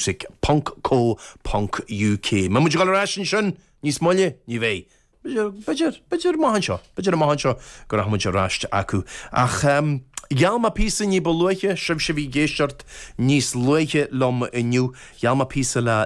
Music ponc co ponc uk. Mbeidh muid ag dul ar ais ansin níos moille? Ní bheidh. B'fhéidir, b'fhéidir amach anseo, b'fhéidir amach anseo go rachaidh muid ar ais acu. Ach gheall mé píosa ní ba luaithe, sibhse a bhí ag éisteacht níos luaithe liom inniu, gheall mé píosa le.